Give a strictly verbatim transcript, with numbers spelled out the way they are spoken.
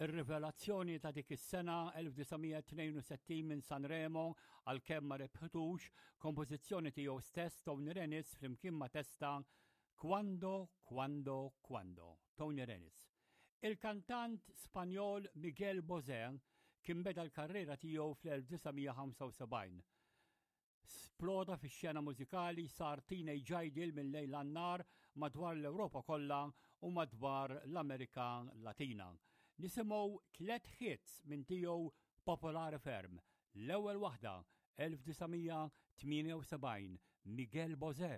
Ir-rivelazzjoni ta' dik is-sena elf disa' mija tnejn u sittin minn Sanremo, għalkemm ma rebħitux, kompożizzjoni tiegħu stess, Tony Renis flimkien ma' Testa, "Quando, Quando, Quando". Tony Renis. Il-kantant Spanjol Miguel Bosé kien beda l-karriera tiegħu fl-elf disa' mija ħamsa u sebgħin. Sploda fix-xena mużikali, sar teenage idol minn lejl għan-nhar madwar l-Ewropa kollha u madwar l-Amerika Latina. Nisimgħu tlet hits minn tiegħu popolari ferm. L-ewwel waħda, elf disa' mija tmienja u sebgħin, Miguel Bosé.